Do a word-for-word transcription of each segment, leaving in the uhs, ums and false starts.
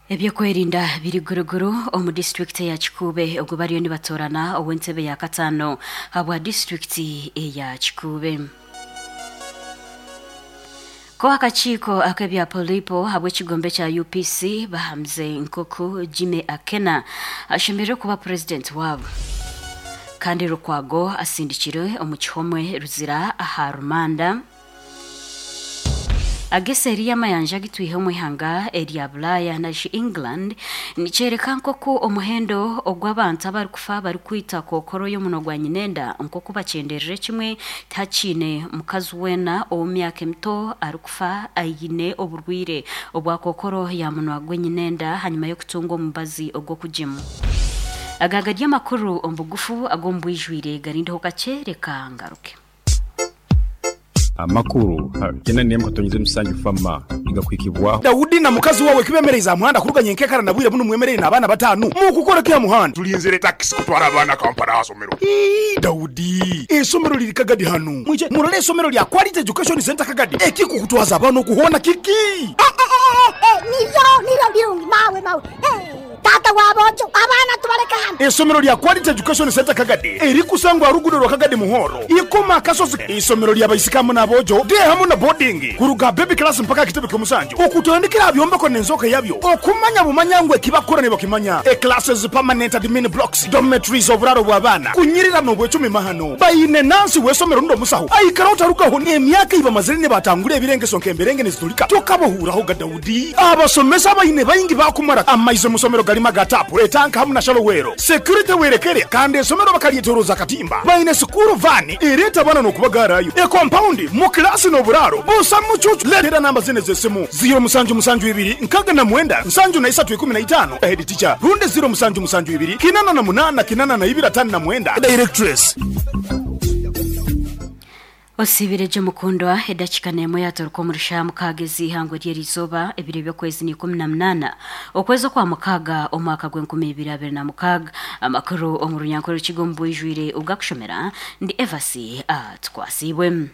Ebyokwerinda biri guruguru omu disitulikiti ya Kikuube, ogwo bariyo nibatorana ow'entebe ya kataano habwa disitulikiti eya Kikuube. Ko akakiiko ak'ebya polipo habw'ekigombe kya U P C bahamize nkoku Jimmy Akena ashemereire kuba purezidenti waabo. Kandi Lukwago asindikirwe omu kihomwe Ruzira aha rumanda. Agese y'amayanja gitwihe omu ihanga erya Bulaya nashi England nikyereka nkoku omuhendo ogw'abantu abarikufa barikwita kokoro y'omunwa gwa nyinenda nkoku bakyenderere kimwe tihakiine mukazi weena ow'omu myaka emito arikufa aine oburwire obwa kokoro ya munwa gw'enyinenda hanyuma y'okutunga omubazi ogw'okugimu. Agaga ry'amakuru omu bugufu ag'omu bwijwire garindeho kakye reka ngaruke. Amakuru kena nemu katonyize musanju fama igakwikibwa Daudi na mukazi wawe kibemereza muhanda kuruganya enkekara na bwire buno mwemerere n'abana batanu mukukora kya muhanda tulinzire taxi kutwara abana Kampala asomero. Ii Daudi esomero liri Kagadi hanu mwije murole esomero lya Quality Education Center Kagadi ekikukutwaza abana okuhona kiki niyo niyo birungi mawe mawe tata wabojo abana tubareka hano. Esomero lya Quality Education Center Kagadi erikusangwa rugudo rwa Kagadi Muhoro ikoma kasozi. Isomero lya baisikamu nabojo de hamu na boarding kuruga baby class mpaka kitebe kyomusanju okutandikira byombeko nenzoka yabyo okumanya bumanyangwe kibakora ne bakimanya e classes permanent admin blocks dormitories oburaro bw'abana kunyirira no bwecumi mahano bayine nansi wesomero ndo musaho aikara utarukaho ne emyaka iba mazire ne batangure ebirenge sonke emberenge nezitulika tokabohuraho ga Daudi abasomesa bayine bayingi bakumara amaizo musomero galima gatapu etanka hamu na shalowero security werekere kandi esomero bakalietoroza katimba bayine sukuru vani ereta bana no kubagarayo e compound mu klasi no buraro busa mucucu letera namba zine zesimu zero musanju musanju ibiri nkaga na mwenda nsanju na isatu ikumi na itano head teacher runde zero musanju musanju ibiri kinana na munana kinana na ibiri atanu na mwenda directress. Osibireje mukundwa edakika nemo yatoruka omurisha mukagezi ihangwe ry'erizoba ebiro by'okwezi ni ikumi na munana okwezi kwa mukaga omwaka gw'enkumi ibiri abiri na mukaga. Amakuru omu runyankore rukigo mu bwijwire ubwakushomera ndi Evasi atwasibwe.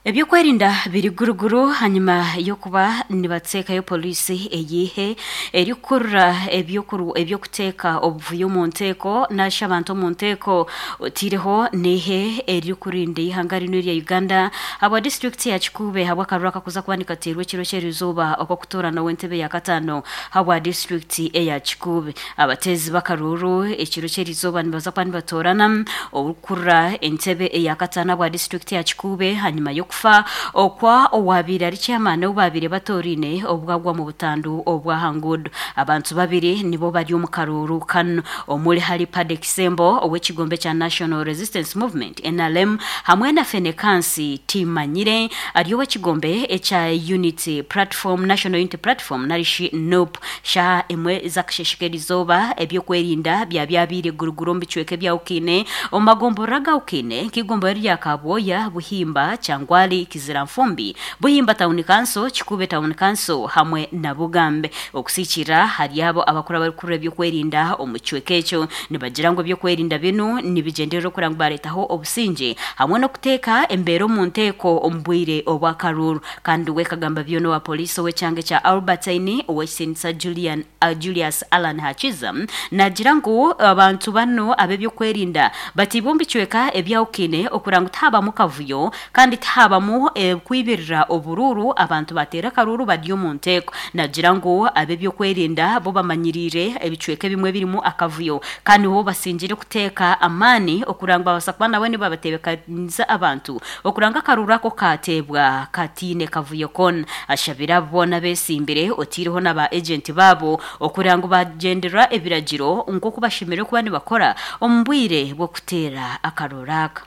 Ebyokwerinda biri guruguru hanyuma yokuba nibatekayo polisi eyihe erikurura ebyokuru ebyokuteka obuvuyo mu nteko nasha abantu mu nteko otireho nehe erikurinda ihanga rino rya Uganda aba district ya Kikuube habwa karuraka kuza kubanika terwe kiro kyerizoba okwo kutora na wentebe ya katano habwa district eya Kikuube abatezi bakaruru ekiro kyerizoba nibaza kwa nibatorana obukurura entebe eya katano habwa district ya Kikuube hanyuma yo kufa okwa owabiri ari chairman obabire batorine obwagwa mu butandu obwa Hangud. Abantu babiri nibo bari omu karuru kano omuli hari Padek Sembo owekigombe cha National Resistance Movement N R M hamwe na Fenekansi Timanyire ari owekigombe echa Unity Platform National Unity Platform narishi N U P sha emwe zaksheshikerizoba ebyokwerinda bya byabire guruguru mbicweke bya ukine omagomboraga ukine kigombo rya Kaboya Buhimba Changwa Kizira Mfumbi Buhimba Town Council Kikuube Town Council hamwe na Bugambe. Okusikira hari abo abakora bari kureba byokwerinda omucweke ekyo nibagira ngo byokwerinda binu nibigenderera kuranga baretaho obusinge hamwe no kuteka embero mu nteko ombwire obwakaruru. Kandi we kagamba byono wa polisi we cyange cha Albertine owesinsa Julian uh, Julius Alan Hachiza nagira ngo abantu bano abe byokwerinda batibombi cweka ebyawukine okuranga taba mukavuyo kandi habamu e, kwibirira obururu abantu batera karuru baryo mu nteko. Nagira ngo abe byokwerinda bo bamanyirire ebicweke bimwe birimo akavuyo kandi bo basingire kuteka amani okuranga basakwa nawe ni babatebekaniza abantu okuranga karura ko katebwa katine kavuyo kon ashabira bona besimbire otiriho naba agent babo okuranga bagendera ebiragiro nko kubashimire kuba nibakora ombwire bwo kutera akaruraka.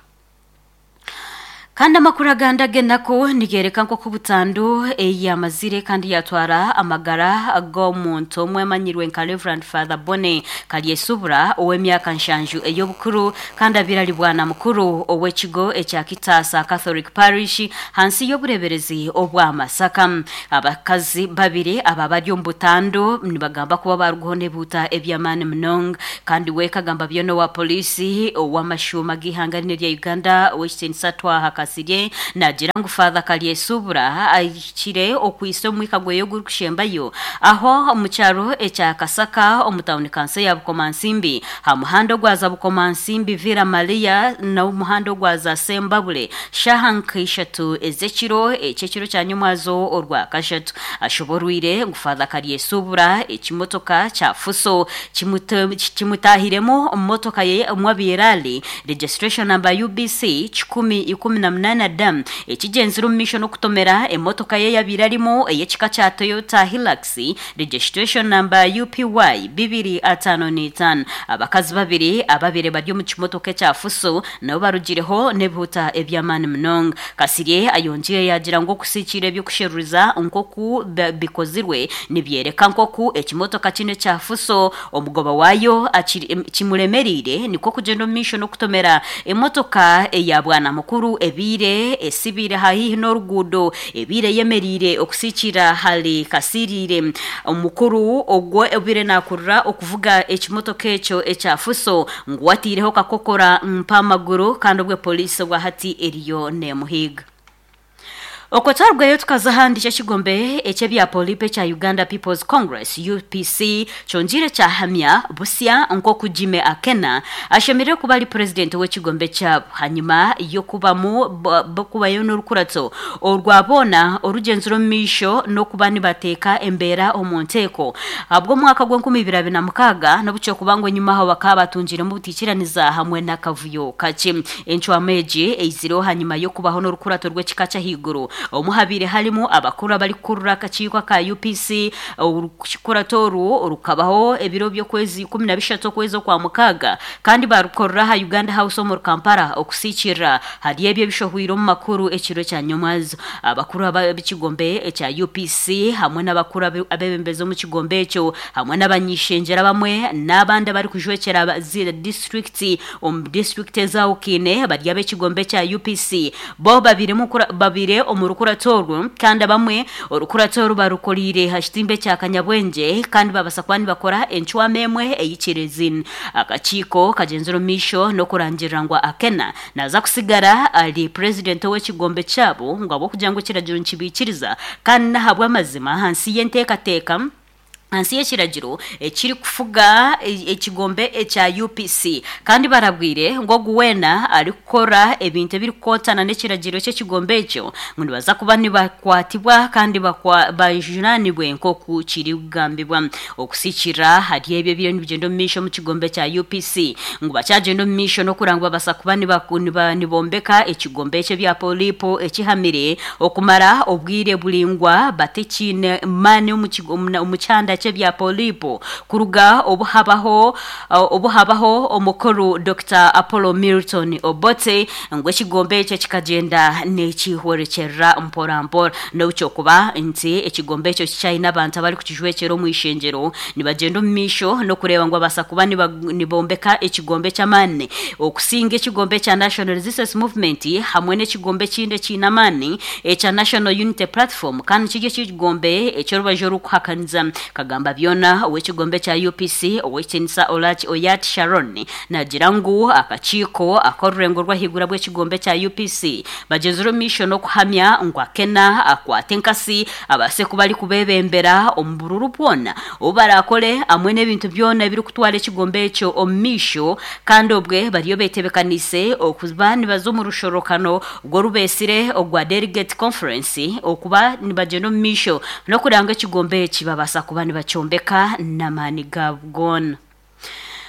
Kandi amakuru agandage nako nigereka nko kubutandu eyamazire kandi yatwara amagara ag'omuntu omwe amanyirwe nka Reverend Father Bonne Kalyesubura ow'emyaka nshanju ey'obukuru kandi abirali bwana mukuru ow'ekigo ekya Kitasa Catholic Parish hansi y'obureberezi obw'Amasaka. Abakazi babiri aba bari omu butandu nibagamba kuba baruguho nebuta eby'amaani munonga. Kandi we kagamba byono wa polisi ow'amashuma g'ihanga rino rya Uganda Western Satwa Kasirye nagira ngu Father Kalyesubura ahikire okwisa omwika gweyo gurikushembayo aho omu kyaro ekya Kasaka omu tawuni kanso ya Bukomansimbi ha muhanda ogwaza Bukomansimbi Villa Maria n'omuhanda ogwaza Sembabule shaha nk'ishatu ez'ekiro eky'ekiro kya nyomwazo orwa kashatu. Ashoborwire ngu Father Kalyesubura ekimotoka kya Fuso kimutahiremu omumotoka ye omwabirali registration number U B C kikumi ikumi na munana D ekigenzire omu misho n'okutomera emotoka ye yabirarimu ey'ekika kya Toyota Hilux registration number U P Y bibiri atano n'etaano. Abakazi babiri ababire bari omu kimotoka ekya Fuso nabo barugireho n'ebihuta eby'amaani munonga. Kasirye ayongiire yagira ngu okusiikira ebyokusheruriza nk'oku bikozirwe nibyereka nk'oku ekimotoka kino ekya Fuso omugoba wayo kimuremerire nikwo kugenda omu misho n'okutomera emotoka eya bwana mukuru ebiire esibire haihi n'oruguudo ebiire yemerire okusiikira hali Kasirire. Omukuru ogwo ebire nakurura okuvuga ekimotoka ekyo ekya Fuso ngu watiireho kakokora mpamaguru kandi obwe polisi bwahati eriyo nemuhiga. Okotwarwayo tukaza ahandi ky'ekigombe eky'ebya Polipe kya Uganda People's Congress U P C kyongire kyahamya busya nk'oku Jimmy Akena ashemereire kuba ari purezidenti w'ekigombe kyabo hanyuma y'okubamu kubayo n'orukurato orwabona orugenzero omu maisho n'okuba nibateeka embeera omu nteeko ahabw'omwaka gw'enkumi ibiri abiri na mukaaga n'obukyokuba ngu enyuma aho bakaba batungiremu obutiikiraniza hamwe n'akavuyo kakye. Encwamu egi eizireho hanyuma y'okubaho n'orukurato rw'ekika ky'ahaiguru omuhabire harimu abakuru abarikukurura akakiiko ka U P C. Orukurato oru rukabaho ebiro by'okwezi ikumi na bishatu okwezi okwa mukaaga kandi barukorera aha Uganda House omu Kampala okusiikirira hari ebyo ebishohwire omu makuru ekiro kya nyomwazo. Abakuru ab'ekigombe ekya U P C hamwe n'abakuru abebembezi omu kigombe ekyo hamwe n'abanyishengyera bamwe n'abandi abarikujwekyera zira district omu district ezawukiine bari ab'ekigombe kya U P C bo babire babire omu rukurato orwo kandi abamwe orukurato oru barukorire ha kitimbe kya Kanyabwengye kandi babasa kuba nibakora encwama emwe eyikirezini. Akakiiko kagenzire omu maisho n'okurangirira ngu Akena naza kusigara ari purezidenti w'ekigombe kyabo ngu ahabw'okugira ngu ekiragiro nikibiikiriza kandi n'ahabw'amazima ahansi y'enteekateeka hansi y'ekiragiro ekiri kufuga ekigombe ekya U P C kandi barabwire ngu ogu weena arikukora ebintu ebirikukontana n'ekiragiro ky'ekigombe ekyo ngu nibaza kuba nibakwatibwa kandi bajunaanibwe nk'oku kiri kugambibwa. Okusiikira hari ebyo ebiriyo nibigyenda omu maisho omu kigombe kya U P C ngu bakyagenda omu maisho n'okuranga ngu babasa kuba nibombeka ekigombe eky'ebya Polipo ekihamire okumara obwire buringwa batekiine maani omu kyanda bya Polipo kuruga obuhabaho obuhabaho omukuru Doctor Apollo Milton Obote ngu ekigombe ekyo kikagenda n'ekihwerekyerera mpora mpora n'okyokuba nti ekigombe ekyo kikyayina abantu abarikukijwekyera omu ishengyero nibagenda omu maisho n'okureeba ngu babasa kuba nibombeka ekigombe ky'amaani okusinga ekigombe kya National Resistance Movement hamwe n'ekigombe ekindi ekiine amaani ekya National Unity Platform kandi kiri ekigombe eky'orubaju orukuhakaniza. Kagamba byona ow'ekigombe kya U P C ow'ekitinisa Olachi Oyat Sharon nagira ngu akakiiko ak'orurengo rw'ahaiguru bw'ekigombe kya U P C bagenzire omu maisho n'okuhamya ngu Akena akwate enkasi abase kuba arikubebembera omu bururu bwona obu barakore hamwe n'ebintu byona ebirikutwara ekigombe ekyo omu maisho kandi obwe bariyo betebekanise okuba nibaza omu rushorokano rw'orubeesire ogwa Delegate Conference okuba nibagyenda omu maisho n'okuranga ekigombe eki babasa kuba nibakyombeka n'amaani gaabo goona.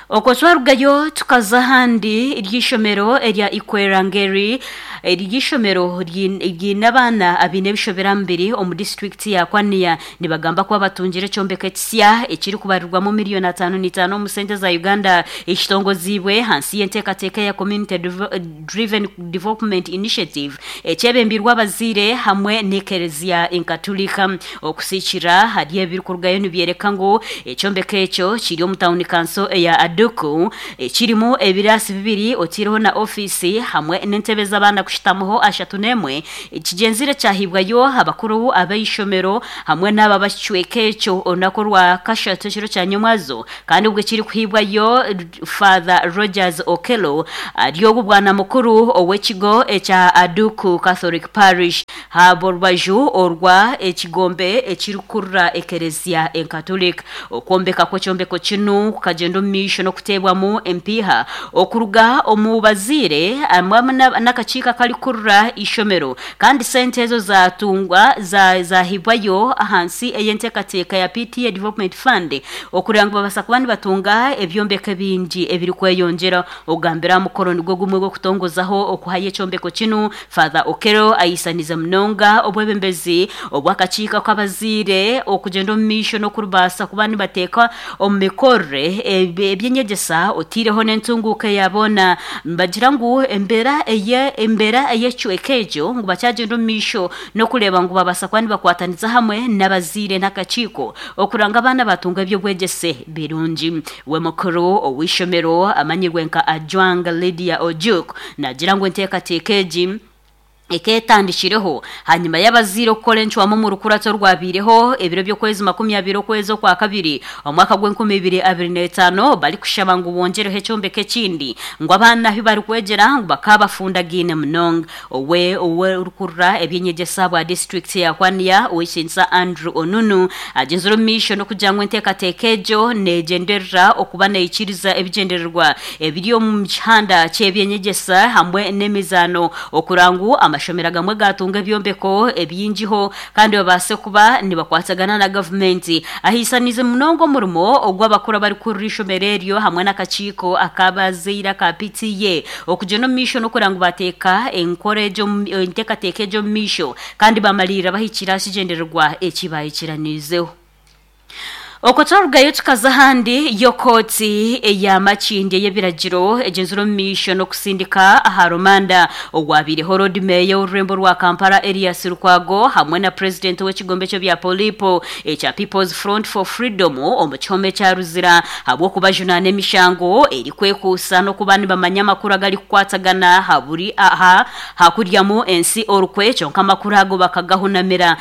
Okwo twarugayo tukaza ahandi ery'ishomero erya Ikwerangeri ery'ishomero ryine abaana abaine ebishoberamubiri omu disitulikiti ya Kwania nibagamba kuba batungire ekyombeko ekisya ekirikubarirwamu miliyoni ataano n'itaano omu sente za Uganda ekitongoziibwe hansi y'enteekateeka ya Community Driven Development Initiative ekyebembirwe abazaire hamwe n'ekereziya enkatulika. Okusiikira hari ebirikurugayo nibyereka ngu ekyombeko ekyo kiri omu tawuni kanso eya Aduku ekirimu ebirasi bibiri otiriho na ofisi hamwe n'entebe z'abaana kushitamuho ashatu n'emwe. Ekigenzire kyahibwayo abakuru ab'eishomero hamwe n'aba bakicweka ekyo olunaku rwa kashatu ekiro kya nyomwazo, kandi ubwo kiri kuhibwayo Father Rogers Okello ari obu bwana mukuru ow'ekigo ekya Aduku Catholic Parish habo rubaju orwa ekigombe ekirikurura ekereziya enkatolika. Okwombeka kw'ekyombeko kinu kukagenda omu maisho n'okuteebwamu empiiha okuruga omu baziire hamwe n'akakiiko akarikurura ishomero, kandi sente ezo zatungwa zahibwayo ahansi ey'enteekateeka ya P T A Development Fund okugira ngu babasa kuba nibatunga ebyombeko ebingi ebirikweyongyera. Ogambira mukoro nigwo gumwe gw'okutongozaho okuhayo ekyombeko kinu, Father Okello ayisanize munonga obwebembezi obw'akakiiko k'abaziire okugenda omu maisho n'okubaasa kuba nibateeka omu mikorere ebyenyegyesa otiireho n'entunguuka yaboona. Nibagira ngu embeera eye embeera ey'ekicweka ekyo ngu bakyagenda omu maisho n'okureeba ngu babaasa kuba nibakwataniza hamwe n'abaziire n'akakiiko okuranga abaana batunga eby'obwegyese birungi. We mukuru ow'eishomero amanyirwe nka Ajwang Lydia Ojuk nagira ngu enteekateeka egi eketandikireho hanyuma y'abaziire okukora encwamu mu rukurato rwabiireho ebiro by'okwezi makumi abiri okwezi okwa kabiri omwaka gw'enkumi ibiri abiri n'etaano barikushaba ngu bongereho ekyombeko ekindi ngu abaana ahu barikwegyera ngu bakabafundagaine munonga. Owe owe orukurura ebyenyegyesa bwa disitulikiti ya Kwania Owekiinisa Andrew Onunu agenzire omu maisho n'okugira ngu enteekateeka egyo neegyenderera okuba neikiriza ebigyendererwa ebiri omu kihanda ky'ebyenyegyesa hamwe n'emizaano okura ngu amashomero agamwe gatunga ebyombeko ebingiho kandi babaase kuba nibakwatagana na gavumenti. Ahiisanize munonga omurimo ogw'abakuru abarikurira ishomero eryo hamwe n'akakiiko akabazaire aka P T A okugenda omu maisho n'okugira ngu bateeka enkora egyo enteekateeka egyo omu maisho kandi bamalirira bahikire aha kigyendererwa eki bahikiraniizeho. Okwo twarugayo tukaza ahandi y'okooti eya Makindye y'ebiragiro egyenzire omu maisho n'okusindika aha rumanda ogwabiireho Lord Mayor w'orurembo rwa Kampala Erias Lukwago hamwe na President w'ekigombe ky'ebya Polipo ekya People's Front for Freedom omu kihome kya Ruzira ahabw'okubajunaana emishango erikwekuusa n'okuba nibamanya amakuru agarikukwatagana haburi aha hakuryamu ensi orukwe, kyonka amakuru ago bakagahunamira.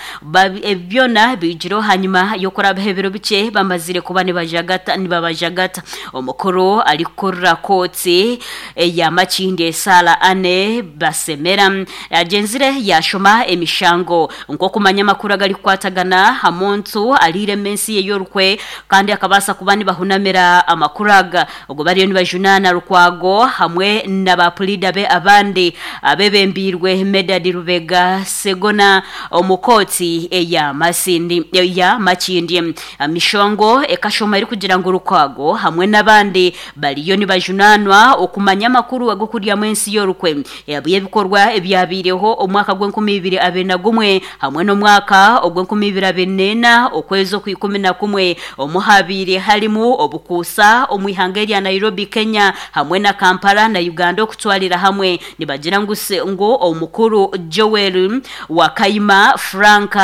Byona bigireho hanyuma y'okurabaho ebiro bikye bamazire kuba nibajagata nibabajagata. Omukuru arikukurira kooti eya Makindye Sara Anne Basemera agenzire yashoma emishango nk'okumanya amakuru agarikukwatagana ha muntu ariire ensi ye y'orukwe kandi akabaasa kuba nibahunamira amakuru aga. Ogwo bariyo nibajunaana Lukwago hamwe n'abapulida be abandi abebembiirwe Medard Lubega Segona omu kooti eya Masindi eya Makindye. Mishongo ekashoma erikugira ngu Lukwago hamwe n'abandi bariyo nibajunanwa okumanya amakuru ag'okuryamu ensi y'orukwe ebikorwa ebyabiireho omwaka gw'enkumi ibiri abiri na gumwe hamwe n'omwaka ogw'enkumi ibiri abiri n'ena okwezi okw'ikumi na kumwe omuhabiire harimu obukuusa omu ihanga erya Nairobi Kenya hamwe na Kampala na Uganda okutwarira hamwe. Nibagira ngu ngu omukuru Joel Wakayima Frank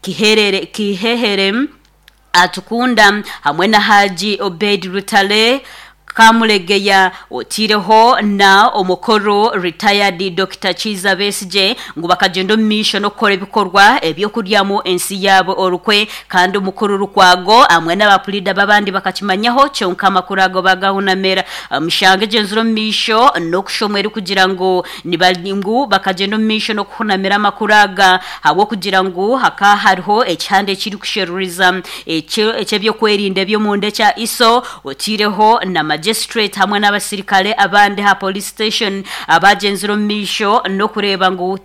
Kiherere Kihehere Atukunda hamwe na Haji Obed Rutale Kamulegeya otireho na omukoro retired Doctor Kiza Besigye ngu bakagenda omu maisho n'okukora ebikorwa ebyokuryamu ensi yaabo orukwe, kandi omukuru Lukwago hamwe n'abapulida b'abandi bakakimanyaho kyonka amakuru ago bagahunamira. Omushango egyenzire omu maisho n'okushomwa erikugira ngu ngu bakagenda omu maisho n'okuhunamira amakuru aga ahabw'okugira ngu haka hariho ekihanda ekirikusheruriza eky'ebyokwerinda eby'omunda ekya I S O otireho na magistrate hamwe n'abasirikare abandi ha police station abagenzire omu maisho n'okureeba ngu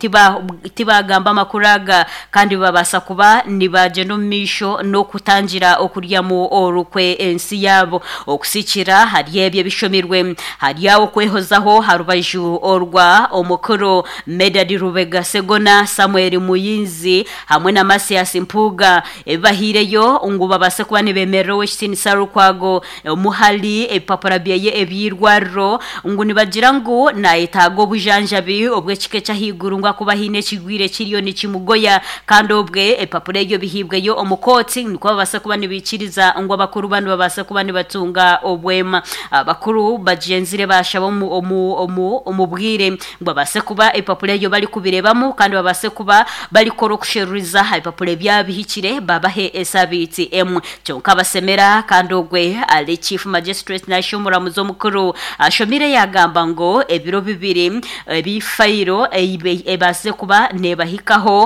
tibagamba amakuru aga kandi babaasa kuba nibagenda omu maisho n'okutangira okuryamu orukwe ensi yaabo. Okusikira hari ebyo ebishomirwe hari aho okwehozaho ha rubaju orwa omukuru Medard Lubega Segona Samuel Muyinzi hamwe na Masias Mpuga ebibahiireyo ngu babaase kuba nibemerera Owekitiinisa Lukwago omuhali ebipapura ebipapura byeye eby'irwariro ngu nibagira ngu nayetaaga obujanjabi obw'ekika eky'ahaiguru ngu akuba haine ekigwire kiriyo nikimugoya kandi obwe ebipapura ebyo bihibweyo omu kooti nikwo babaasa kuba nibiikiriza ngu abakuru banu babaasa kuba nibatunga obwema. Abakuru bagyenzire bashaba omu, omu, omu, omu bwire ngu babaase kuba ebipapura ebyo barikubireebamu kandi babaase kuba barikora okusheruriza aha bipapura ebyabihikire babahe esabiiti emwe. Kyonka basemera kandi ogwe ari chief magistrate nashi omuramuzi omukuru ashomire yagamba ngu ebiro bibiri ebifairo ebaase kuba nebahikaho.